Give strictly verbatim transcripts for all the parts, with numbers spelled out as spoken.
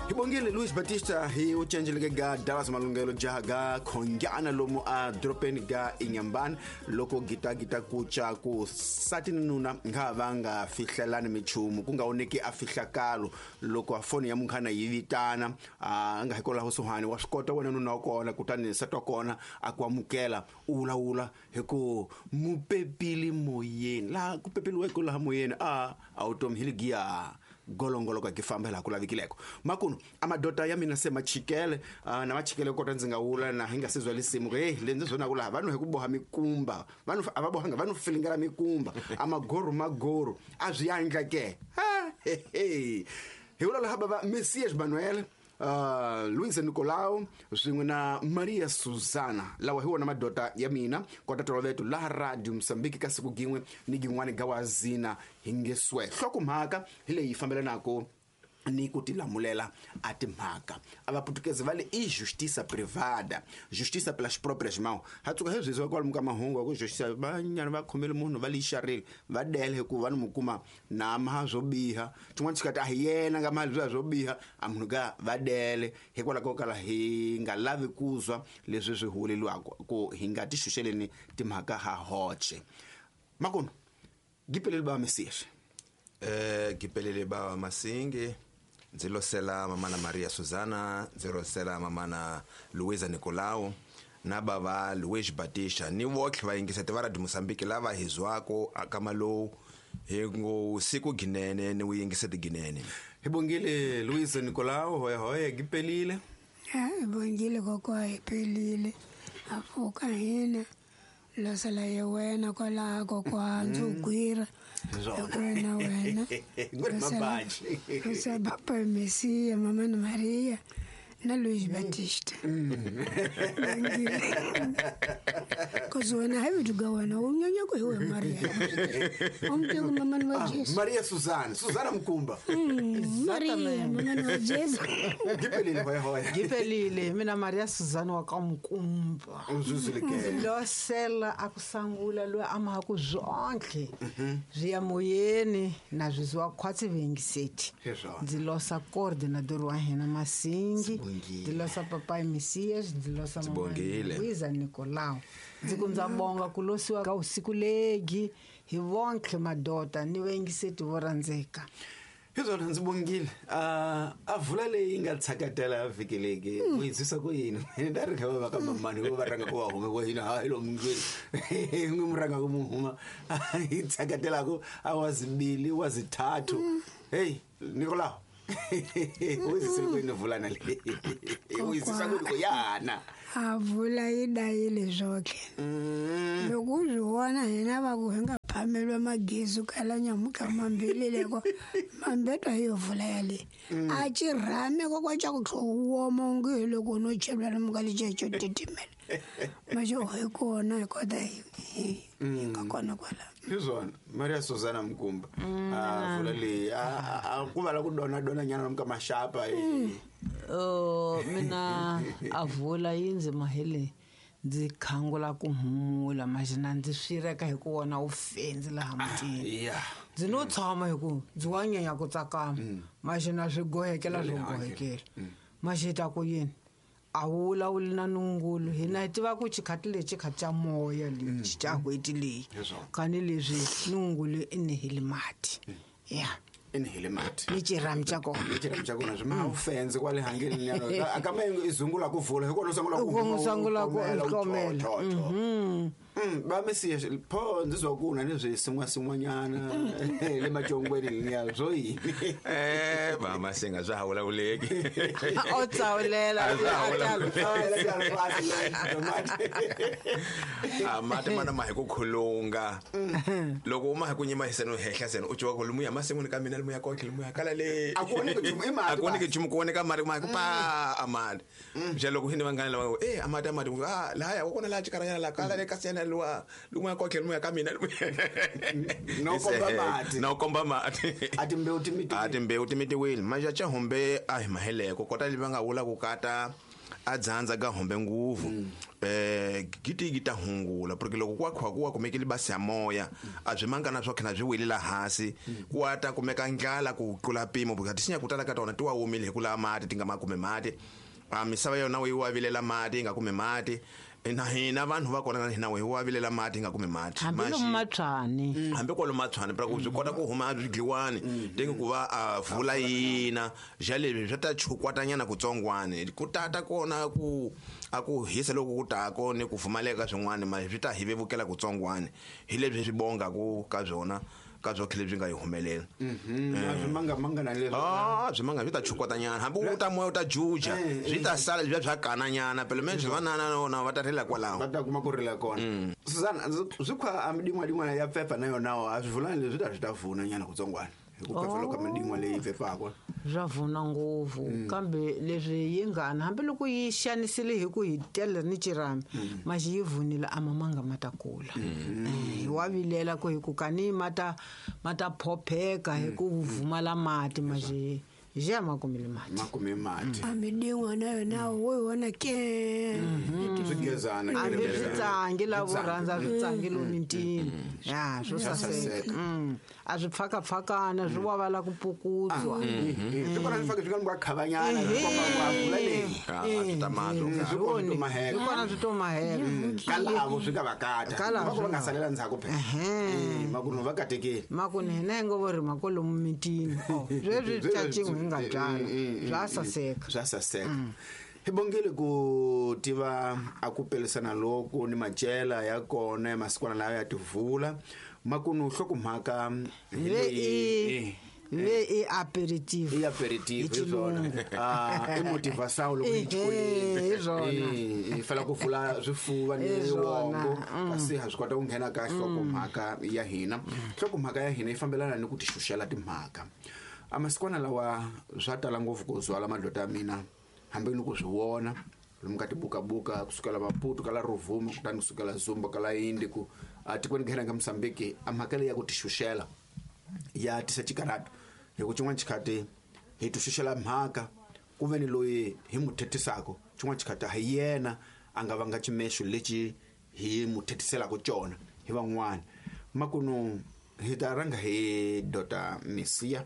Hi bongile Luis Batista hi u cenjeleke ga Dallas Malungelo jaha ga khongyana lomu a doropeni ga Inyambani loko gita gita kucha ku sati ni nuna nga va nga fihlelani michumu ku nga oneki a fihlakalo loko a foni ya munghana yi vitana a nga hikwalaho suhani wa swi kota wena nuna wa kona kutani nsati wa kona a ku amukela u vulavula hi ku mupepile moyeni laha ku pepeliweke laha moyeni a a vutomi hi ligiya golongolo ka ki famba laha ku lavikileko makunu a madota ya mina se machikele uh, na machikele kota ndzi nga wula na hi nga se zwa lisimu hey le ndzi zwona ku laha vanhu hi ku boha mikumba vanhu a va bohanga vanhu filingela mikumba a magoro magoro a swi yandla ke ha he he hi vula laha bava Messias Manuel Uh, Luis Nicolau swin'we na Maria Susana lawa hi wona madota ya mina kota toloveto laha Radio Mozambique ka siku gin'we ni gin'wani ga wazina hi nge swe nhlokomhaka hi leyi fambelanaka ni ku tilamulela a timhaka a vaputukezi va le i justiça privada justiça pelas próprias mãos ha tsuka hezwi zwa kwalomu ka mahungu ku justiça vanyana va khomele munhu va lixarile va dele hikuva va ni mu kuma na maha swo biha xin'wana xi kati a hi yena nga mali bya swo biha a munhu ka va dele hikwalaho ko kala hi nga lavi ku zwa leswi swi huweleliwaka ku hi nga ti xuxeleni timhaka ha hoxe makuno gipelele ba Messias eh gipelele ba Masingi ndzi losela mamana Maria Susana ndzi losela mamana Luisa Nicolau na bava Luis Batista ni votlhe va yingiseti va Radio Mozambique lava hi zwako aka lowu hi ngo siku ginene ni wu yingiseti ginene. Hi bongile Luisa Nicolau hoya hoya gipelile. Ha bongile kokwa iphelile afuka hina losela ye wena kwalaha kokwa ndzi gwira wena wena Ngwena mabaji losela papa Messia mama na Maria na Luis Batista kozi wena hayi duga wena unyanya ku hiwe Maria umteko mama na Jesu Maria Susana Susana Mkumba Maria mama na Jesu gipelile hoya hoya gipelile mina Maria Susana wa ka Mkumba uzuzuleke losela akusangula lo ama ku zonke zwi ya moyeni na zwi khwatsi vengiseti ndzi losa coordinator wa hina Masingi ndzi losa papa Messias ndzi losa mama Luisa Nicolau ndzi ku ndza bonga ku losiwa ka usiku legi hi vonke madota ni vengiseti vo rhandzeka. Hizona ndzi bongile a a vula leyi nga tshakatela vhiki leki ku yi zwisa ku yini nda ri kha va ka mamani va ranga ku va hume ku hina hayi lo mungweni n'wi mu ranga ku mu huma yi tshakatela ku a wa zibili wa zithathu hey Nicolau uyizisile kuyini vulana le uyizisa ku yana a vula yi dayile zwoke loko u zwi vona hina va ku hi nga phamelwa magezi kala nyamuka mambili leko mambetwa yo vula yale a ci rhame kokwa ca ku tlho woma onge hi loko no chela lomu ka liceco titimela maxo hi kona hi kota hi nga kona kwala hi swona Maria Susana Mkumba a vula leyi a ku vala ku dona dona nyana lomu ka maxapa oh mina a vula yi ndzi mahele ndzi khangula ku humula maxina ndzi swireka hi ku wona u fendzi laha mutini ndzi no tshama hi ku ndzi wa nyanya ku tsakama maxina swi gohekela swo gohekela maxita ku yini a wula wu na nungulu hina hi tiva ku xikhati lexi khati xa moya lexi xa n'hweti leyi kani leswi nungulu i nehile mati ya i nehile mati ni xirhami xa kona ni xirhami xa kona swi ma wu fendze kwale hangeni nyana a kambe i zungula ku vula hi kona u sungula ku u sungula ku hlomela mm ba Messias pho ndzi zwa ku na leswi sin'wa sin'wanyana le macongweni liya swo yini eh ba Masinga swa ha vulavuleki o tsawulela a mati mana ma hi ku khulunga loko u ma hi ku nyima hi seno hehla seno u twa ku lomu ya masin'wini ka mina lomu ya kotlhe lomu ya kala le a ku voneki nchumu i mati a ku voneki nchumu ku voneka mati ma hi ku pa a mati njhe loko hini vanghana lava eh a mati a mati ah lahaya wa kona laha xikarhanyana la kala le ka siyana luwa lomu ya kotlhe lomu ya ka mina no komba mati no komba mati a timbewu ti mitiwile a timbewu ti mitiwile manje cha humbe a hi maheleko kota leyi va nga vula ku kata A dzandza ga hombe nguvu eh giti gita hungula porque loko kwa khwa ku wa kumekile basi ya moya a byi mangana swo khena byi welela hansi ku ata kumeka ndlala ku tlula pimo because tisinya kutala ka tona ti wa womile hi ku lava mati ti nga ma kume mati a misava yona yi wa vilela mati yi nga kume mati na hina vanhu va kona na hina hi wa vilela mati nga kume mati hambi lomu matshwani hambi kwalo matshwani pra ku byi kota ku huma byi tenge ku va a vula yina ja leswi swa ta chukwatanyana kutsongwani ku tata kona ku a ku hisa loko ku tako ni ku pfumaleka swin'wana ma swi ta hi vevukela kutsongwani hi leswi swi bonga ku ka byona ka byo khele byi nga yi humelela mhm a swi manga manga na leswi ah swi manga swi ta chukwatanyana hambi u ta moya u ta juja swi ta sala bya bya kananyana phela manje vanana na va ta rila kwalaho va ta kuma ku rila kona Susan swi khwa a midin'wa din'wana ya pfepfa na yona a swi vulani leswi ta swi ta vuna nyana kutsongwana hi ku pfepfa loko midin'wa leyi pfepfaka swa vuna ngopfu kambe leswi yi ngana hambiloko yi xanisile hi ku hi tele ni chirami maxi yi vunile a mamanga ma ta kula hi wa vilela ku hi ku kani ma ta ma ta phopheka hi ku vumala mati maxi ja ma kumile mati ma kume mati a midin'wa na yona wo yi vona ke swigezana hambi swi tsangi lavo rhandza swi tsangi lomitini ya swo saseka a swi pfakapfakana swi wavala ku pukutswa swi kona swi fake swi nga khavanyana swi komba ku a vula leyi a swi ta mahlo swi kona swi maheka swi kona swi to maheka kalavo swi nga va kata va ku va nga salela ndzhaku phela makunu va katekile makunu hina hi ngo vo ri makolomu mitini sweswi tshachin'we hi nga byala bya saseka bya saseka hi bongile ku tiva a ku pelisana loko ni macela ya kona masikwana lawa ya tivula makunu hlokomhaka hi leyi ve i aperitif i aperitif hi swona ah i motivation loko hi xikolweni hi swona hi fela ku vula swifuva ni wongo kasi ha swi kota ku nghena ka hlokomhaka ya hina hlokomhaka ya hina yi fambelana ni ku tixuxela timhaka a masikwana lawa swa tala ngopfu ku zwala madlota ya mina hambi ni ku swi vona lomu ka tibukabuka kusukela Maputo kala Rovuma kutani kusukela Zumba kala Indi ku atikweni nghena ka Mozambique a mhaka leyi ya ku tixuxela ya tisa xikarhato hi ku xin'wana xikhati hi tixuxela mhaka ku ve ni loyi hi mu thethisaka xin'wana xikhati a hi yena a nga vanga ximexo lexi hi mu thethiselaka xona hi van'wana makunu hi ta rhanga hi Dota Mesiya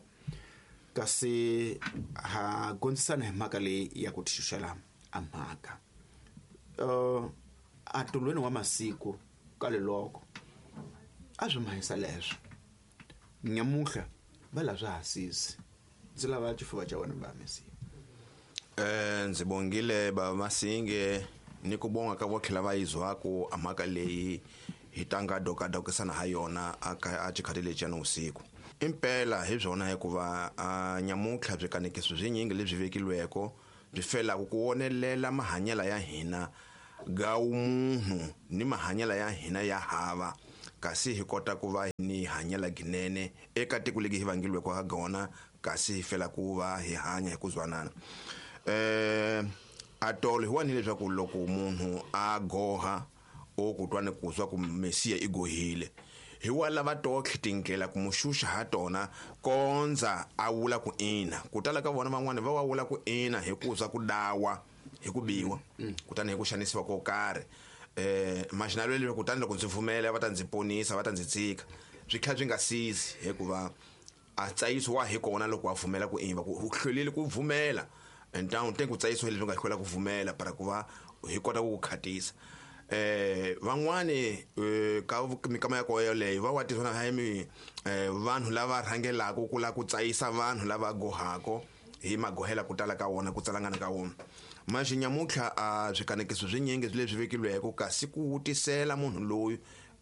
kasi ha gondzisana hi mhaka leyi ya ku tixuxela a mhaka uh a tolweni wa masiku ka leloko a swi mahisa leswo nyamuhla va la swa hasisi ndzi lava xifuva xa wena ba Mesiya eh ndzi bongile ba Masinge ni ku bonga ka votlhela va yizwaku a mhaka leyi hi tanga dokadokisana ha yona a xikhati lexi ya usiku impela hi byona hikuva a nyamutlha byi kanekiso byinyingi lebyi vekilweko byi felaka ku wonelela mahanyelo ya hina ga munhu ni mahanyelo ya hina ya hava kasi hi kota ku va ni hanyela ginene eka tiko legi hi vangilweko ha gona kasi hi fela ku va hi hanya hi ku zwanana eh atolo hi wanile leswaku loko munhu a goha o ku twa ni ku zwa ku Mesiya i gohile hi wa lava totlhe tindlela ku muxuxa ha tona kondza a wula ku ina ku tala ka vona van'wana va wa wula ku ina hi ku za ku dawa hi ku biwa kutani hi ku xanisiwa ko karhi eh maxinalo leyi kutani loko ndzi pfumela va ta ndzi ponisa va ta ndzi tsika swi tlhela swi nga sizi hikuva a tsayisiwa hi kona loko wa pfumela ku imba ku hlwelile ku pfumela and down te ku tsayisiwa leswi nga hlwela ku pfumela para ku va hi kota ku ku khatisa eh van'wani ka mikama ya koyo leyi va wa tisona ha mi vanhu lava rhangelaka ku la ku tsayisa vanhu lava gohako hi magohela ku tala ka wona ku tsalangana ka wona manje nyamutlha a swikanekiso swinyingi leswi vekilweke kasi ku wutisela munhu loyi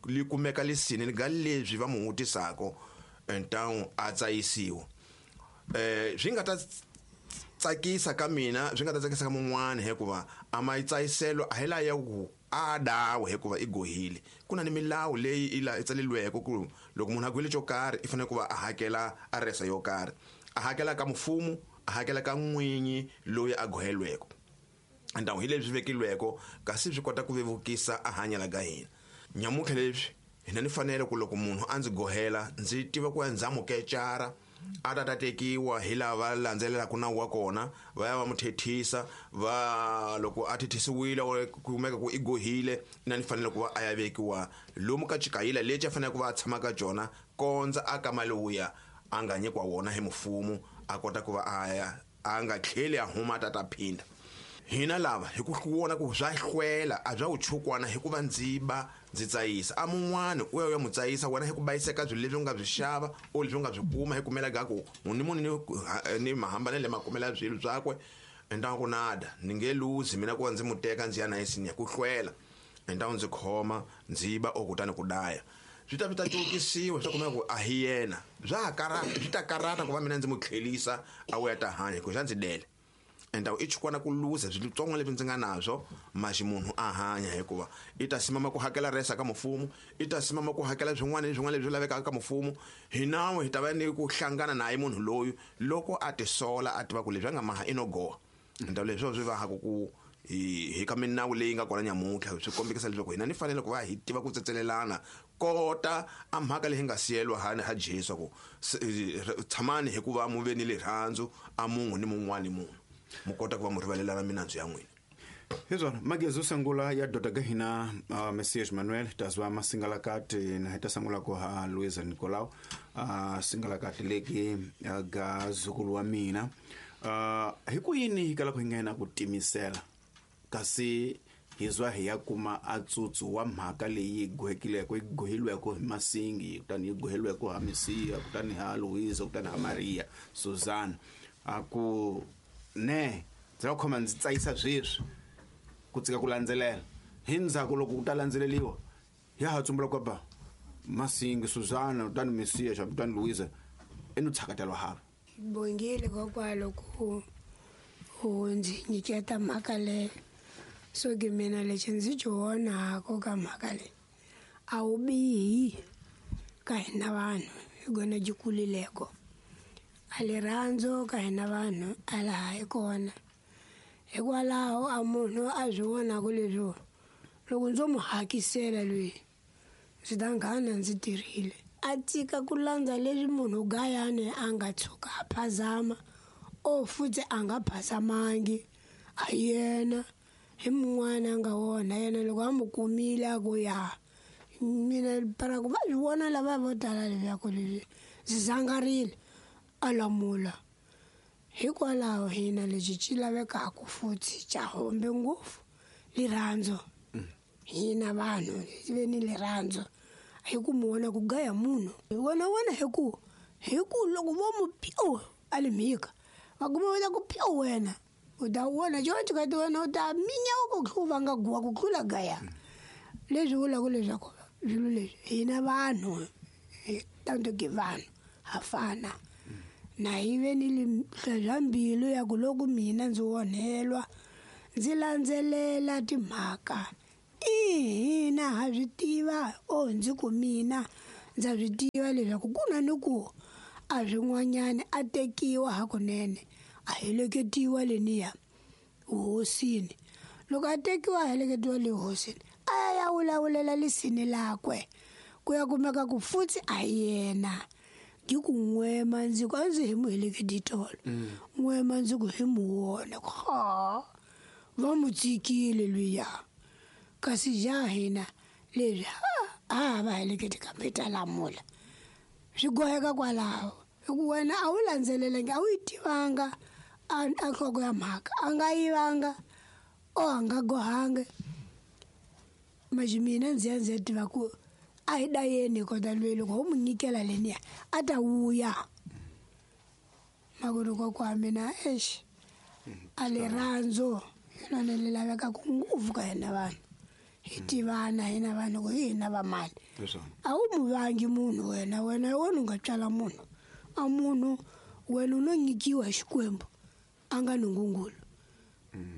li kumeka lisini ni ga leswi va mu wutisako entawu a tsayisiwa eh swi nga ta tsakisa ka mina swi nga ta tsakisa ka mun'wana hikuva a ma tsayiselo a hi la ya ku a dawe hikuva i gohile ku na ni milawu leyi i la i tsaleliweke ku loko munhu a gohile xo karhi i fanele ku va a hakela aresa yo karhi a hakela ka mfumo a hakela ka n'winyi loyi a gohelweke ndawu hi leswi vekilweke kasi swi kota ku vevukisa a hanyela ka hina nyamutlha leswi hina ni fanele ku loko munhu a ndzi gohela ndzi tiva ku ya ndza mukecara A ta ta tekiwa hi lava landzelelaka nawu wa kona, va ya va mu thethisa, va loko a thethisiwile or kumeka ku i gohile, na ni fanele ku va a ya vekiwa lomu ka chikayila lexi a fanele ku va a tshama ka jona kondza a ka mali wuya a nga nyikiwa wona hi mfumo, a kota ku va a ya a nga tlheli a huma ta ta phinda. Hina lava hi ku vona ku swa hlwela a bya u chukwana hikuva ndzi ba ndzi tsayisa a mun'wana u ya u ya mu tsayisa wena hi ku bayiseka swilo leswi u nga byi xava o leswi u nga byi kuma hi kumela ga ku munhu ni munhu ni mahambanelo makumela swilo byakwe enda ku nada ni nge luzi mina ku va ndzi mu teka ndzi ya na yesinya ku hlwela enda ndzi khoma ndzi ba o kutani ku daya swi ta ta cukisiwa swa kumeka ku a hi yena bya karata swi ta karata ku va mina ndzi mu tlhelisa a wu ya ta hanya ku xa ndzi dele enda i chukwana ku luza switsongo leswi ndzi nga nazwo maxi munhu a hanya hikuva i ta simama ku hakela resa ka mfumo, i ta simama ku hakela swin'wana ni swin'wana leswi lavekaka ka mfumo. Hi nawu hi ta va ni ku hlangana naye munhu loyi loko a tisola a tiva ku leswi a nga maha i no goha. Enda leswi swi va ha ku ku hi hi ka minawu leyi nga kona nyamuntlha swi kombekisa leswaku hina ni fanele ku va hi tiva ku tsetselelana kota a mhaka leyi nga siyelwa ha ha Jesu ku tshamani hikuva mu ve ni rirhandzu a munhu ni mun'wana ni munhu mu kota ku va mu rivalelana minandzu ya n'wina. Hi swona magezo sangula ya doda ga hina uh, Messias Manuel tazwa masingalakati na hita sangula ko ha Luisa Nicolau uh, singalakati leki uh, ga zukulu wa mina uh, hi ku yini hi kala ku nghena ku timisela kasi hizwa hi ya kuma a tsutsu wa mhaka leyi gohekileko yi gohilweko hi Masingi kutani yi gohilweko ha Messias kutani ha Luisa kutani ha Maria Susana a ku ne ndzi la khoma ndzi tsayisa sweswi ku tsika ku landzelela hi ndzhaku loko ku ta landzeleriwa ya ha tsumbula ku ba Masingi Susana kutani Messias kutani Luisa i no tshakatelwa hava. Bongile kokwalo ku u ndzi nyiketa mhaka leyo so ke mina lexi ndzi xi vonaka ka mhaka leyi a wu bihi ka hina vanhu hi gona byi kulileko a rirhandzu ka hina vanhu a laha hi kona hikwalaho a munhu a swi vonaka leswo loko ndzo mu hakisela loyi ndzi ta nghana ndzi tirhile a tika ku landza leswi munhu gayani a nga tshuka a phazama o futhi a nga phazamangi a yena hi mun'wana a nga wona yena loko a mu kumile a ku ya mina para ku va swi vona lava vo tala leswaku leswi ndzi zangarile a lamula hikwalaho hina lexi xi lavekaka futhi xa hombe ngopfu rirhandzu hina vanhu hi ve ni rirhandzu hi ku mu vona ku gaya munhu hi vona wona hi ku hi ku loko vo mu piu a li mhika va kuma va ku piu wena u ta vona xo ka ti wena u ta minya ku tlhuva nga guwa ku tlula gaya leswi vulaka leswaku swilo leswi hina vanhu hi tanto ke vanhu ha fana na hi ve ni bya mbilu ya ku loko mina ndzi onhelwa ndzi landzelela timhaka ihina ha swi tiva o ndzi ku mina ndza swi tiva leswaku ku na ni ku a swin'wanyana a tekiwa hakunene a heleketiwa leniya hosini loko a tekiwa a heleketiwa le hosini a ya vulavulela lisini lakwe ku ya kumeka ku futhi a yena ngi ku n'wema ndzi ku a ndzi hi mu heleketi tolo n'wema ndzi ku hi mu wona ha va mu tsikile luya kasi ja hina leswi a va heleketi kambe ta lamula swi goheka kwalaho hi ku wena a wu landzelelangi a wu yi tivanga a nhloko ya mhaka a nga yivanga o a nga gohangi maxi mina ndzi ya ndzi ya tiva ku a hi dayeni kota loyi loko ho mu nyikela leniya a ta vuya makuri kokwa mina exi a rirhandzu hi lona leri lavekaka ngopfu ka hina vanhu hi tivana hina vanhu ku hi hina va mali a wu mu vangi munhu wena wena wena u nga tswala munhu a munhu wena u no nyikiwa hi Xikwembu a nga nungungulu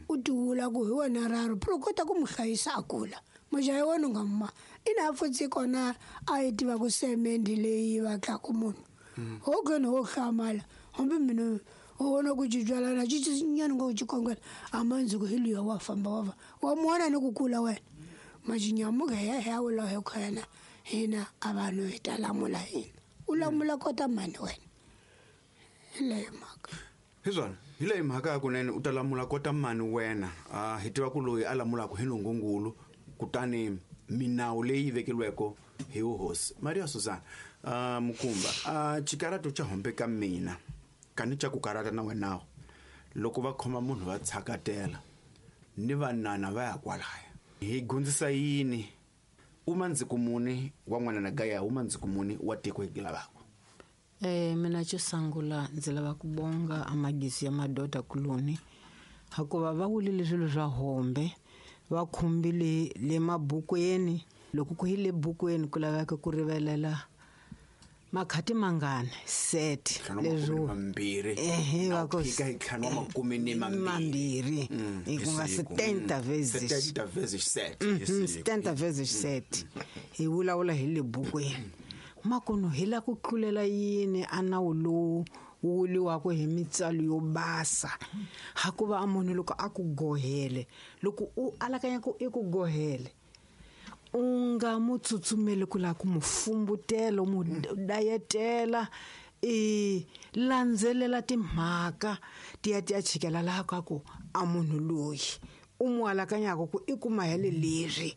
u tivula ku hi wena raro pro kota ku mu hlayisa a kula mujahi wena u nga ma ina futhi kona a yi tiva ku semende leyi va tlaku munhu ho gena ho hlamala hambi mina ho vona ku cincalana cincinyana ngo cikongela a mandzi ku hi luya wa famba wa va wa muona ni ku kula wena majinyamuka ya ya wula hi khona hina a vanhu hi ta lamula hina u lamula kota mani wena. Hi leyo mhaka. Hi swona, hi leyi mhaka kunene u ta lamula kota mani wena. Uh, hi tiva ku loyi a lamulaka hi nongongulu kutani minawu leyi vekeriweke hi hosi Maria Susan. Uh, Mukumba, uh, xikarato xa hombe ka mina kani xa ku karata na wena loko va khoma munhu va tshakatela ni vanana va ya kwalaya hi gundzisa yini uma ndzikumuni wa n'wana na gaya uma ndzikumuni wa tiko hi lavaka. Eh mina xo sungula ndzi lava ku bonga amagisi ya madoda kuloni hikuva va wulile swilo swa hombe va khumbile le mabukweni loko ku hi le bukweni ku laveka ku rivelela makhati mangani set leswo mambirhi ehe va ko fika hi ntlhanu wa makume ni mambirhi ku nga setenta vezes setenta vezes set setenta vezes set hi vulavula hi le bukweni makono hi la ku tlulela yini a nawu lowu wu wuliwaka hi mitsalo yo basa hakuva a munhu loko a ku gohele loko u alakanya ku i ku gohele u nga mu tsutsumeli ku lava ku mu fumbutela mu dayetela i landzelela timhaka ti ya ti ya chikela laha ka ku a munhu loyi u mu alakanyaka ku i kuma hele leswi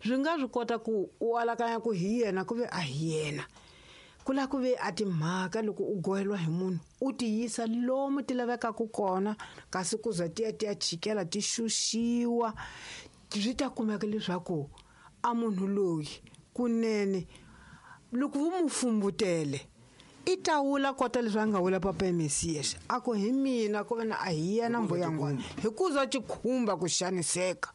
swi nga swi kota ku u alakanya ku hi yena ku ve a hi yena ku lava ku ve a timhaka loko u goheliwa hi munhu u ti yisa lomu ti lavekaka kona kasi ku za ti ya ti ya chikela ti xuxiwa swi ta kumeka leswaku a munhu loyi kunene loko wu mu fumbutele i ta wula kota leswi a nga wula papa Mesias a ku hi mina ku ve na a hi yena mbuyangwana hi ku za tikhumba ku xaniseka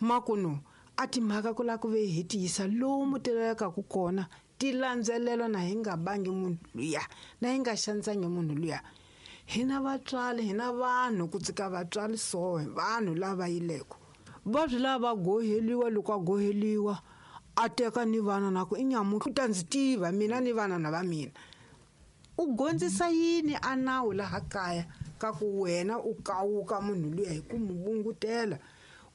makuno a timhaka ku lava ku ve hi tiyisa lomu ti lavekaka kona ti landzelela na hi nga bangi munhu luya na hi nga xanisangi munhu luya. Hina vatswari hina vanhu ku tsika vatswari so vanhu lava yileko va swi lava va goheliwa loko a goheliwa a teka ni vana na ku i nyamuntlha u ta ndzi tiva mina ni vana na va mina u gondzisa yini a nawu laha kaya ka ku wena u kawuka munhu luya hi ku mu bungutela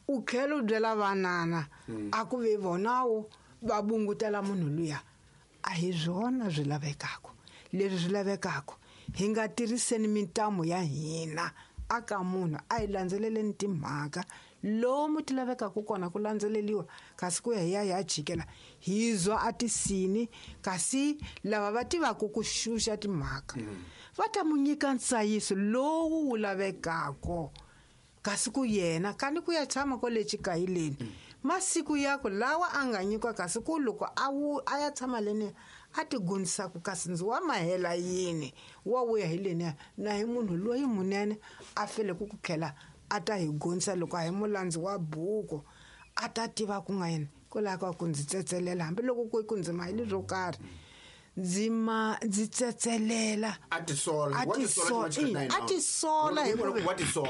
u tlhela u byela vanana a ku ve vonawo va bungutela munhu luya a hi swona swi lavekaka leswi swi lavekaka hi nga tirhiseni mintamu ya hina aka munhu a hi landzeleleni timhaka lomu ti lavekaka kona ku landzeleliwa kasi ku ya hi ya hi ya jikela hi zwa a tisini kasi lava va tivaka ku xuxa timhaka va ta mu nyika nsayiso lowu wu lavekaka kasi ku yena kani ku ya tshama kwale xikayileni masiku yako lawa a nga nyikiwa kasi ku loko a wu a ya tshama leni a ti gundzisaka kasi ndzi wa mahela yini wa vuya hi leniya na hi munhu loyi munene a fele ku ku tlhela a ta hi gundzisa loko a hi mulandzi wa buku a ta tiva ku nga yena kwalaho ka ku ndzi tsetselela hambiloko ku ku ndzi maheli swo karhi ndzi ma ndzi tsetselela a tisola a tisola a tisola hi ku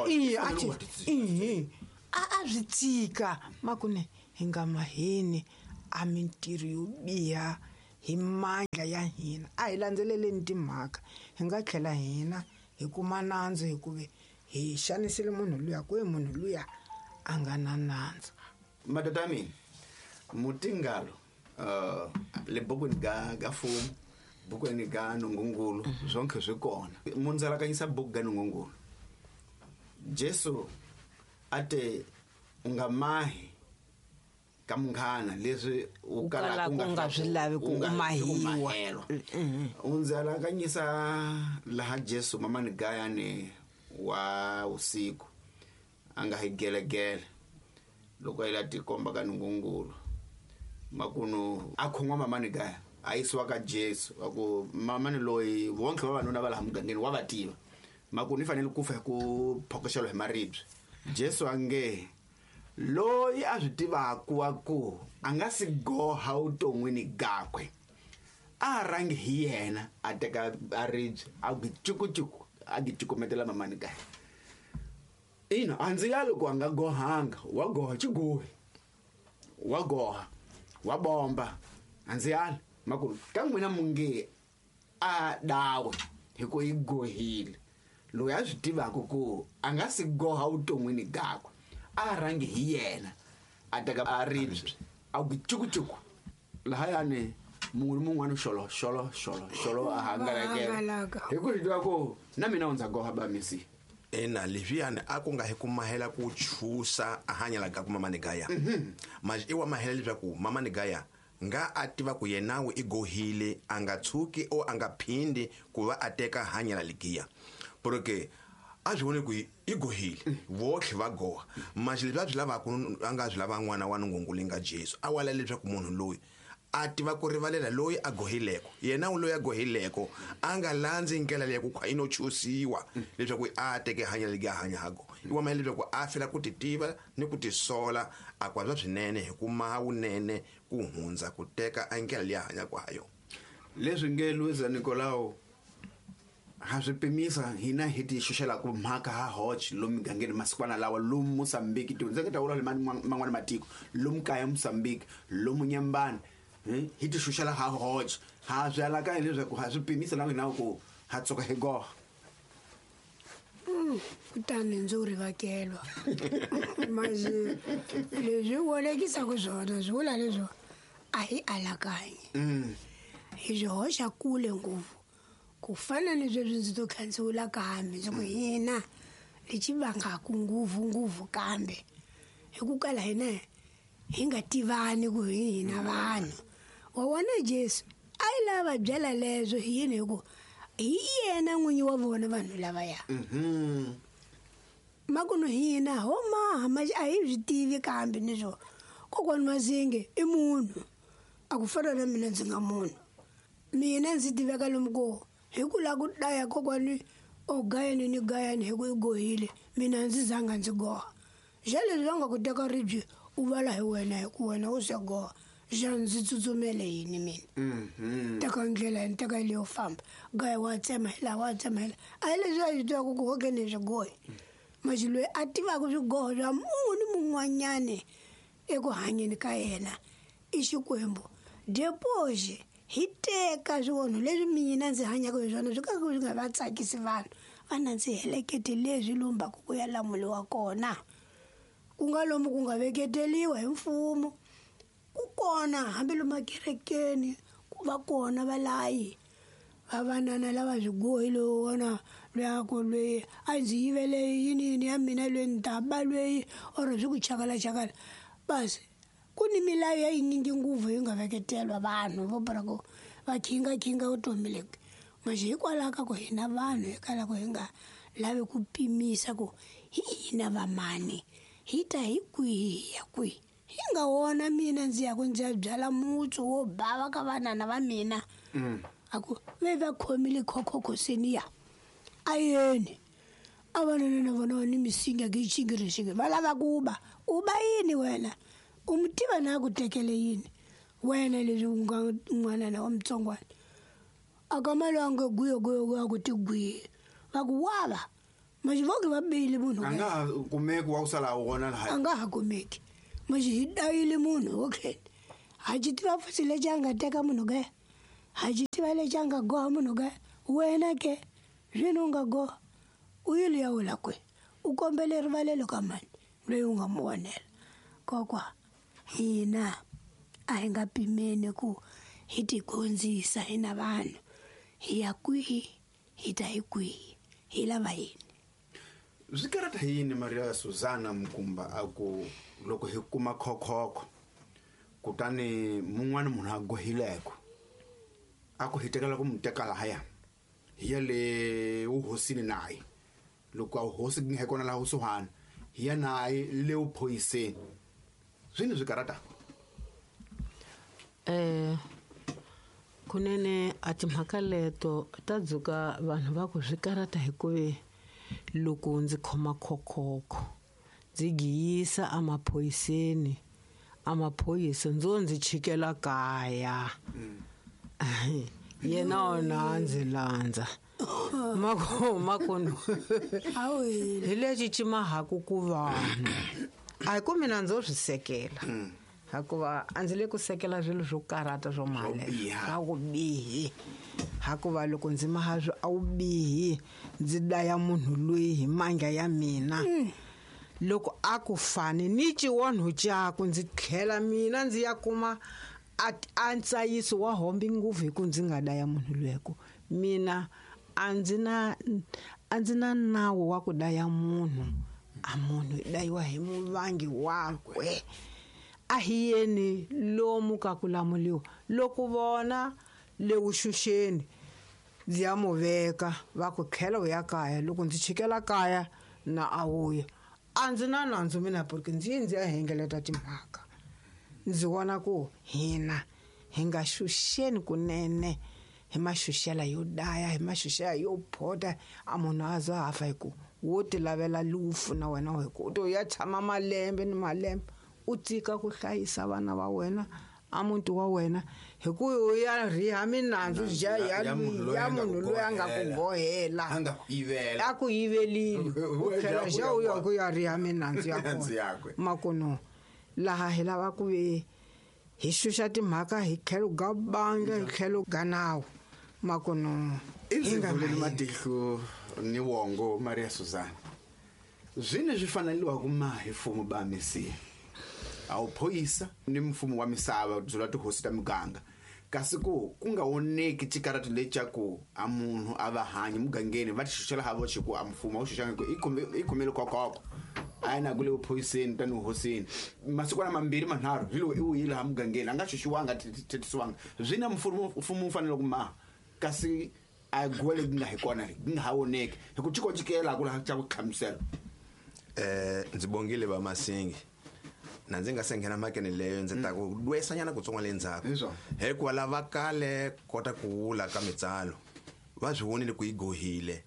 i a ti i a a swi tika makune hi nga maheni a mintirho yo biha hi mandla ya hina a hi landzeleleni timhaka hi nga tlhela hina hi kuma nandzu hikuva hi xanisile munhu luya ku munhu luya a nga na nandzu. Madoda ya mina mutingalo uh le bukweni ga ga fumu bukweni ga nongongolo zonke swi kona mundzalakanyisa buku ga nongongolo Jesu ate u nga mahi ka munghana leswi u kalaka u nga swi lavi ku u mahiwa u ndzalakanyisa laha Jesu mamani gayani wa usiku a nga hi gelegele loko a ila tikomba ka nongongolo makuno a khon'wa mamani gaya a yisiwa ka Jesu a ku mamani loyi vonke vavanuna va laha mugangeni wa va tiva makuno i fanele ku fa hi ku phokoxela hi maribye Jesu a nge loyi a swi tivaka wa ku a nga si goha vuton'wini gakwe a rhangi hi yena a teka a ribye a ku cukucuku a gi cukumetela mamani gaya ina a ndzi ya loko a nga gohanga wa goha xigohi wa goha wa bomba a ndzi yali makulu ka n'wina munge a dawe hi ku yi gohile loyi a swi tivaka ku a nga si goha vuton'wini gakwe a rhangi hi yena a teka a ribye a ku cukucuku lahayani Munhu mun'wana xolo xolo xolo xolo a hangalakela. Hi ku ri ku na mina ndza goha ba misi. Ena leswiyani a ku nga hi ku mahela ku chusa a hanyela ka ku mamani gaya. Manje i wa mahela leswaku mamani gaya nga a tiva ku yenawe i gohile a nga tshuki o a nga phindi ku va a teka hanyela ligiya. Porque a swi vone ku i gohile votlhe va goha. Manje leswi a swi lavaka a nga swi lava n'wana wa Nungungulu nga Jesu a wala leswaku munhu loyi a tiva ku rivalela loyi a gohileko yena loyi a gohileko a nga landzi ndlela leyi ku khwa ino chusiwa leswaku a teke hanya legi hanya hago i wa mahela leswaku a fela ku titiva ni ku tisola a kwa swa swinene hi ku maha wunene ku hundza ku teka a ndlela leyi a hanyaka ha yona. Leswi nge Luisa Nicolao ha swi pimisa hina hi ti xuxela ku mhaka ha hoch lomu migangeni masikwana lawa lomu Mozambique ti ndzi ta vula le man'wana matiko lomu kaya Mozambique lomu Nyambani hi ti xuxela ha hoch ha swi alaka leswaku ha swi pimisa na wena ku ha tsoka hi goha. Kutani ndzi ri vakelwa manje leswi wolekisaka swona swi vula leswo a hi alakanyi hi swi hoxa kule ngopfu ku fana ni sweswi ndzi to khandziwula kambe ndzi ku hina lexi vangaku nguvu nguvu kambe hi ku kala hina hi nga tivani ku hi hina vanhu. Wa vona Jesu a yi lava byela leswo hi yini hi ku hi yena n'winyi wa vona vanhu lavaya. Makuno hina ho maha manje a hi swi tivi kambe ni swo kokwani Mazinge i munhu a ku fana na mina ndzi nga munhu. Mina ndzi tiveka lomu ko hi ku lava ku daya kokwani o gayani ni gayani hi ku i gohile mina ndzi zanga ndzi goha. Xa leswi va nga ku teka ribye u vala hi wena hi ku wena u se goha xa ndzi tsutsumele yini mina. Teka ndlela yini teka leyo famba gaya wa tsema hi laha wa tsema hi laha a hi leswi a swi tivaka ku hokeni swi gohi. Manje loyi a tivaka swigoho swa munhu mun'wanyani eku hanyeni ka yena i Xikwembu. Depoxe hi teka swivonho leswi mina ndzi hanyaka hi swona swi ka swi nga va tsakisi vanhu va na ndzi helekete leswi lumbaku ku ya lamuliwa kona ku nga lomu ku nga veketeliwa hi mfumo ku kona hambi lomu ekerekeni ku va kona valayi va vanana lava swigohi loyi wona loyi a ku loyi a ndzi yivele yini yini ya mina loyi ni ta ba loyi or swi ku chakalachakala basi ku ni milawu ya yinyingi nguvu yi nga veketelwa vanhu vo bara ku va khinga-khinga vutomi lebyi. Manje hikwalaho ka ku hina vanhu hi kala ku hi nga lavi ku pimisa ku hi hina vamani hi ta hi kwihi hi ya kwihi. Hi nga wona mina ndzi ya ku ndzi ya byala mutsu wo bava ka vanana va mina a ku ve va khomile khokhokoseni ya a yeni a vanana na vona ni misinya ki xingirixingi va lava ku ba u ba yini wena u mi tiva na ku tekele yini wena leswi u nga n'wanana wa mutsongwana a ka malwange guyo guyo guyo ku ti gwiye va ku wava manje voke va bile munhu a nga ha kumeki wa ku sala wona laha a nga ha kumeki manje hi dayile munhu okay ha xi tiva futhi lexi a nga teka munhu ke ha xi tiva lexi a nga goha munhu ke wena ke zwino u nga goha u yile ya wula kwe u kombele rivalelo ka mani loyi u nga mu onhela. Kokwa hina a hi nga pimeni ku hi tigondzisa hina vanhu hi ya kwihi hi ta hi kwihi hi lava yini. Swi karata yini Maria Susana Mkumba a ku loko hi kuma khokhokho kutani mun'wana munhu a gohileko a ku hi tekela ku mu teka lahaya hi ya le wuhosini naye loko a hosi hi kona laha kusuhani hi ya naye le wuphoyiseni swi ni swi karata. Eh kunene a timhaka leto ta dzuka vanhu va ku swi karata hikuva loko ndzi khoma khokhokho ndzi giyisa emaphoyiseni amaphoyisa ndzo ndzi chikela kaya yena ona ndzi landza mako makono hi lexi cimahaku ku vanhu a hi ku mina ndzo swi sekela hikuva a ndzi le ku sekela swilo swo karata swo mali swa ku bihi hikuva loko ndzi maha swi a wu bihi ndzi daya munhu loyi hi mandla ya mina loko a ku fani ni xiwonho xaku ndzi tlhela mina ndzi ya kuma A ntsayiso wa hombi ngopfu hi ku ndzi nga daya munhu lweko. Mina a ndzi na a ndzi na nawu wa ku daya munhu. A munhu dayiwa hi muvangi wakwe. A hi yeni lomu ka ku lamuliwa. Loko vona le vuxuxeni ndzi ya mu veka va ku tlhela u ya kaya, loko ndzi chikela kaya na a wuya. A ndzi na nandzu mina porque ndzi yi ndzi ya hengeleta timhaka. Ndzi vona ku hina hi nga xuxeni kunene hi maxuxela yo daya, hi maxuxela yo phota, a munhu a za a fa hi ku wo ti lavela lufu na wena hi ku u to ya tshama malembe ni malembe u tika ku hlayisa vana va wena a muti wa wena hi ku u ya riha minandzu ja ya ya munhu loyi a nga ku gohela, a nga ku yivela, a ku yivelile, u tlhela xa u ya ku ya riha minandzu ya kona. Makuno laha hi lava ku ve hi xuxa timhaka hi tlhelo ga banga, hi tlhelo ga nawu. Makuno i vulele matihlo ni wongo Maria Suzana zwine zwi faneliwa ku ma hi mfumo ba misi a wu phoyisa ni mfumo wa misava byela tihosi ta muganga, kasi ku ku nga oneki xikarati lexa ku a munhu a va hanyi mugangeni va tixuxela ha voxe ku a mfumo a wu xuxanga ku i khomele kokoko a yi na ku le vuphoyiseni tani hosini masikwana mambirhi manharhu hi lowu i wuyile ha mugangeni a nga xuxiwanga thethisiwanga swi na mfumo mfumo wu fanele ku maha kasi a guwa leyi nga hi kona leyi nga ha voneki hi ku cikocikela ku laha xa ku hlamusela. Eh ndzi bongile va Masingi na ndzi nga se nghena mhakeni leyo ndzi ta ku lwesanyana kutsongo le ndzhaku hikuva lava kale kota ku wula ka mitsalo va swi vonile ku yi gohile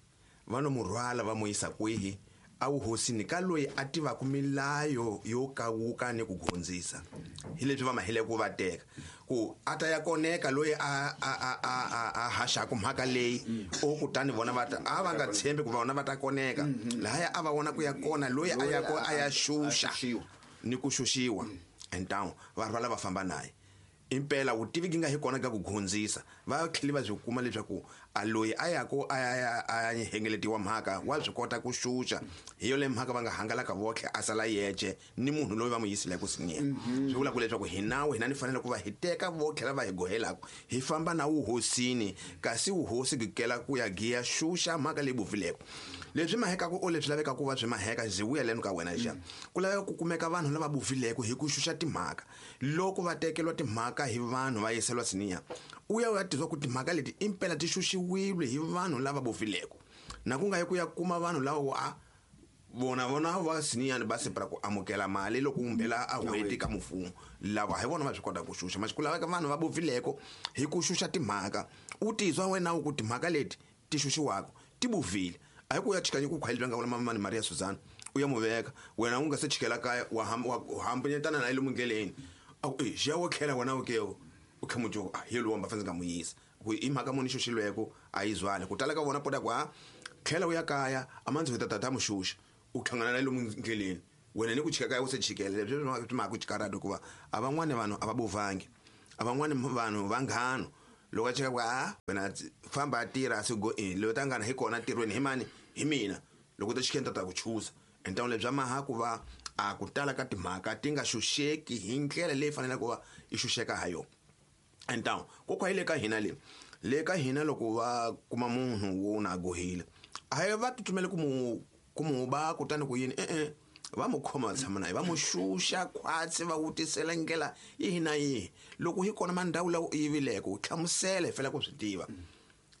va no mu rhwala va mu yisa kwihi a wuhosini ka loyi a tivaka milayo yo kawuka ni ku gondzisa hi leswi va mahile ku va teka ku a ta ya koneka loyi a a a a a haxaku mhaka leyi o kutani vona va ta a va nga tshembi ku vona va ta koneka lahaya a va vona ku ya kona loyi a ya ko a ya xuxa ni ku xuxiwa entawu va rhwala va famba naye impela vutivi gi nga hi kona ka ku gondzisa va tlhela va byi kuma leswaku a loyi a ya ko a ya a ya hengeletiwa mhaka wa swi kota ku xuxa hi yo le mhaka va nga hangalaka votlhe a sala yexe ni munhu loyi va n'wi yisile ku siniya swi vula ku leswaku hi nawu hina ni fanele ku va hi teka votlhe lava hi gohelaka hi famba na wuhosini kasi wuhosi gikela ku ya giya xuxa mhaka leyi bufileko leswi mahekaku o leswi lavekaka ku va swi maheka ndzi vuya leno ka wena xa ku laveka ku kumeka vanhu lava bufileko hi ku xuxa timhaka loko va tekeriwa timhaka hi vanhu va yiseriwa siniya u ya u ya tizwa ku timhaka leti impela ti xuxiwile hi vanhu lava bofileko na ku nga yi ku ya kuma vanhu lava a vona vona va siniyani va separa ku amukela mali loko umbela a hweti ka mfumo lava hi vona va swi kota ku xuxa masiku ku laveka vanhu va bofileko hi ku xuxa timhaka u tizwa wena ku timhaka leti ti xuxiwaka ti bovile a hi ku ya chikanya ku khwayeli nga vula mamani Maria Suzana u ya muveka wena u nga se chikela kaya wa hambanyetana na ile mundleleni a ku e xiya wo tlhela wena u ke u khamujo a hi lowu va fanele nga muyisa ku i mhaka muni xuxilweko a yi zwale ku tala ka vona pota ku a tlhela u ya kaya a mandzi ta tata muxuxa u hlangana na lomu ndleleni wena ni ku chika kaya u se chikela leswi swi mhaka ku chikarado hikuva a van'wani vanhu a va bovangi a van'wani vanhu vanghano loko a chika ku a wena famba a tirha a se go in loyi ta ngana hi kona ntirhweni hi mani hi mina loko ta chikeni ta ta ku chuza entawuni lebyi bya maha ku va a ku tala ka timhaka ti nga xuxeki hi ndlela leyi faneleke ku va i xuxeka ha yona entawuni kokwa hi le ka hina le le ka hina loko va kuma munhu wo na gohile a hi va tsutsumele ku mu ku mu ba kutani ku yini e-e va mu khoma va tshama naye va mu xuxa khwatsi va vutisela ndlela yihi na yihi loko hi kona mandhawu lawa u yivileke u hlamusela hi fanele ku swi tiva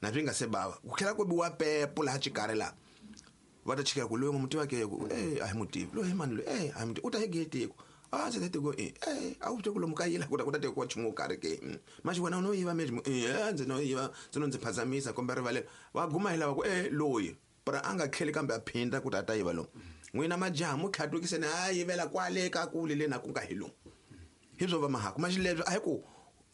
na swi nga se bava ku tlhela ku biwa pepo laha xikarhi laha va ta chikela ku loyi n'wi mutiva ke ku e a hi mutivi loyi hi mani loyi e a hi mutivi u ta hi getiko a ndzi ta tiko e e a wu ku lomu ka yila ku ta ku ta tekiwa nchumu wo karhi ke maxi wena u no yiva mejimo e ndzi no yiva ndzi no ndzi phazamisa kumbe rivalelo va guma hi lava ku e loyi para a nga tlheli kambe a phinda ku ta ta yiva lomu n'wina majaha mu tlhatukiseni a yivela kwale ka kule le na ku nga hi lomu hi swo va mahaku maxi leswi a hi ku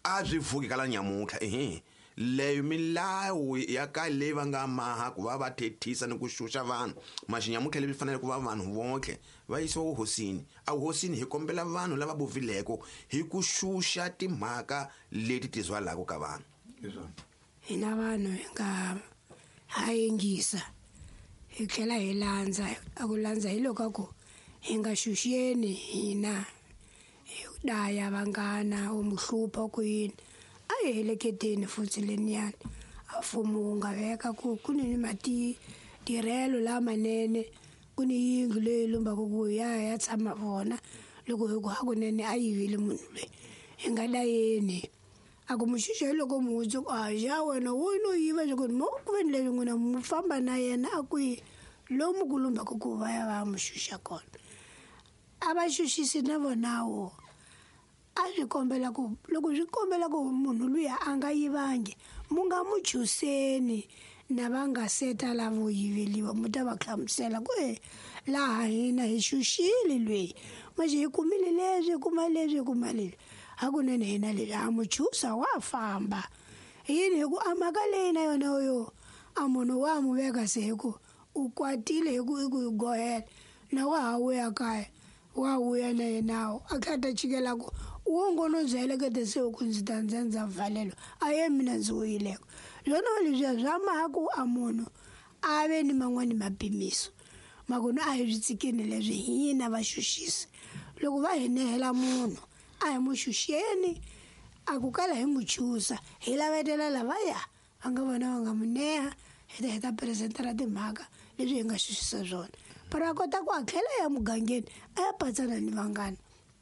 a swi vuki ka la nyamuntlha ehe leyo milawu ya ka leyi va nga maha ku va va thethisa ni ku xuxa vanhu maxi nyamuntlha leswi fanele ku va vanhu vonke va yisiwa wuhosini a wuhosini hi kombela vanhu lava bovileko hi ku xuxa timhaka leti ti zwalaka ka vanhu hina vanhu hi nga ha yingisa hi tlhela hi landza a ku landza hi loko ku hi nga xuxeni hina Hi daya vanghana u mu hlupha ku yini a hi heleketeni futhi leniyani a mfumo wu nga veka ku ku ni matirhelo lamanene ku ni yindlu leyi lombaka ku ya ya tshama vona loko hi ku hakunene a yivile munhu loyi hi nga dayeni a ku muxuxa hi loko muhundzi ku a ja wena wo no yiva ku mo ku ve ni leswi n'wina mu famba na yena a kwihi lomu ku lombaka ku va ya va mu xuxa kona a va xuxisi na vonawo a swi kombela ku loko swi kombela ku munhu luya a nga yivangi mu nga mu chuseni na va nga seta lavo yiveliwa mu ta va hlamusela ku e laha hina hi xuxile lweyi manje hi kumile leswi hi kuma leswi hi kuma leswi hakunene hina leswi a mu chusa wa famba yini hi ku a mhaka leyi na yona yo a munhu wa mu veka se hi ku u kwatile hi ku i ku yi gohela na wa ha vuya kaya wa vuya na yenawo a kha ta chikela ku wo ngono ndzi helekete se ku ndzi ta ndza ndza valelwa a ye mina ndzi wuyileko swona leswiya swa maha ku a munhu a ve ni man'wani mapimiso makunu a hi swi tsikeni leswi hina va xuxisi loko va hi nehela munhu a hi mu xuxeni a ku kala hi mu chusa hi lavetela lavaya va nga vona va nga mu neha hi ta hi ta presentera timhaka leswi hi nga xuxisa swona para a kota ku a tlhela ya mugangeni a ya patsana ni vanghana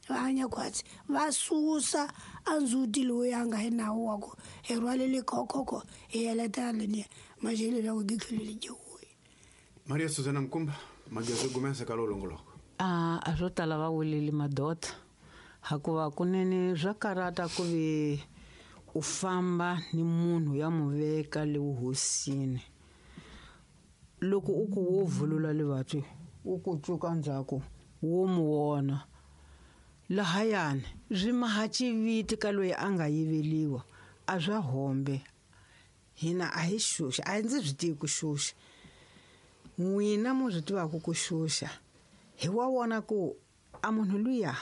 va hanya khwatsi va susa a ndzhuti lowu ya nga hi nawu wa ku hi rhwalele khokhokho hi heletela leniya manje leswaku gitlhelo dyiwile. Maria Susana Mkumba Mageza gumesa ka lowu longoloko a a swo tala va wulile madoda hakuva kunene swa karata ku vi u famba ni munhu ya mu veka le vuhosini loko u ku wo vulula levatwi u ku tsuka ndzhaku wo mu wona lahayani swi maha xiviti ka loyi a nga yiveliwa a swa hombe hina a hi xuxa a ndzi swi tivi ku xuxa n'wina mu swi tivaka ku xuxa hi wa vona ku a munhu luya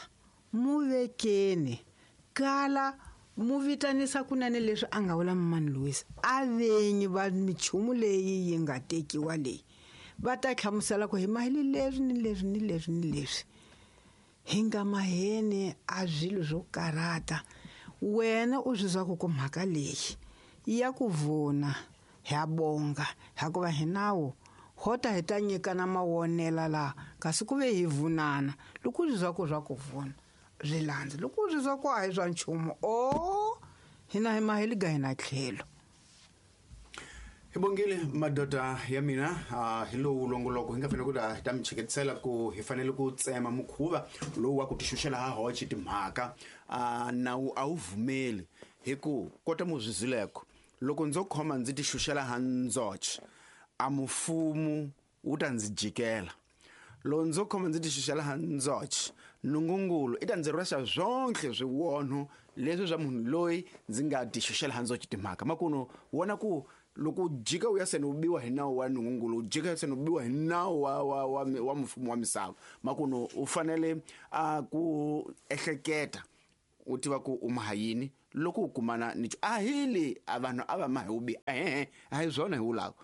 mu vekeni kala mu vitanisa kunene leswi a nga vula Mani Louis a venyi va michumu leyi yi nga tekiwa leyi va ta hlamusela ku hi maheli leswi ni leswi ni leswi ni leswi hi nga maheni a swilo swo karata wena u swi zwa ku ku mhaka leyi ya ku vuna ha bonga hakuva hi nawu hota hi ta nyikana mawonela laha kasi ku ve hi vunana loko u swi zwa ku swa ku vuna swi landza loko u swi zwa ku a hi swa nchumu o hina hi maheli ga hina tlhelo. Hi bongile madoda ya mina uh, hi lowu longoloko hi nga fanele ku ta ta mi cheketisela ku hi fanele ku tsema mukhuva lowu wa ku tixuxela ha hoxe timhaka uh, nawu a wu vumeli hi ku kota muzwizileko loko ndzo khoma ndzi tixuxela ha ndzoxe a mufumu wu ta ndzi jikela loko ndzo khoma ndzi tixuxela ha ndzoxe nungungulu i ta ndzi rhwexa swonke swiwonho leswi swa munhu loyi ndzi nga tixuxela ha ndzoxe timhaka makuno wona ku loko u jika u ya seni u biwa hi nawu wa nungungulu u jika seni u biwa hi nawu wa wa wa wa mfumo wa misava makuno u fanele a ku ehleketa u tiva ku u maha yini loko u kumana ni a hili a vanhu a va mahi u bi ehe a hi swona hi vulaka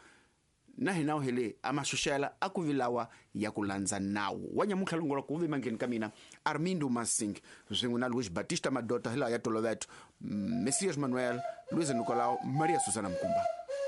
na hina u hele a maxuxela a ku vilawa ya ku landza nawu wa nyamuntlha longolo ku ve mandleni ka mina Armindo Masing swin'we na Luis Batista Madota hi laha ya toloveto Messias Manuel Luis Nicolau Maria Susana Mkumba.